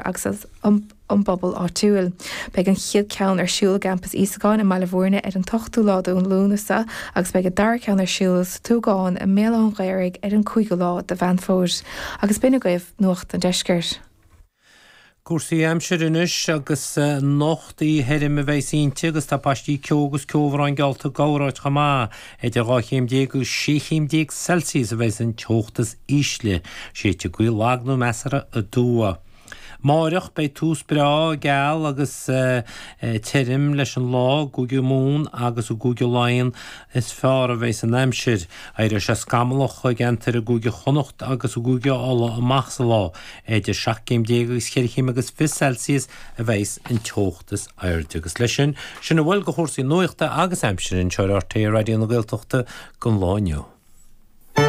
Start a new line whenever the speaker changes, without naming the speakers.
agus as an bpobal áitiúil. Beidh an chéad cheann ar siúl i gCampas Íosagáin i mBaile Bhúirne ar an t-ochtú lá de Lúnasa agus beidh an dara ceann ar siúl sa Tuagán i mBéal Átha an Ghaorthaidh ar an cúigiú lá de Mheán Fómhair. Agus b'in agaibh Nuacht an Deiscirt.
Cúrsaí aimsire anois agus anocht oíche thirim a bheas inti agus tá paistí ceo agus ceobhrán geallta i gcorráit chomh maith. Idir 12 chéim agus 16 chéim Celsius a bheas an teocht is ísle. Séidfidh gaoth lag nó measartha aduaidh. Amáireach beidh tús breá geal agus tirim leis an lá i gCúige Mumhan agus i gCúige Laighean is fearr a bheas an aimsir. Éireoidh sé scamallach i gceantair i gCúige Chonnacht agus i gCúige Uladh amach sa lá. Idir 17 céim agus cheithre chéim agus 20 Celsius a bheas an teocht is airde. Agus leis sin, sin a bhfuil de chúrsaí nuachta agus aimsire anseo ar RTÉ Raidió na Gaeltachta don lá inniu.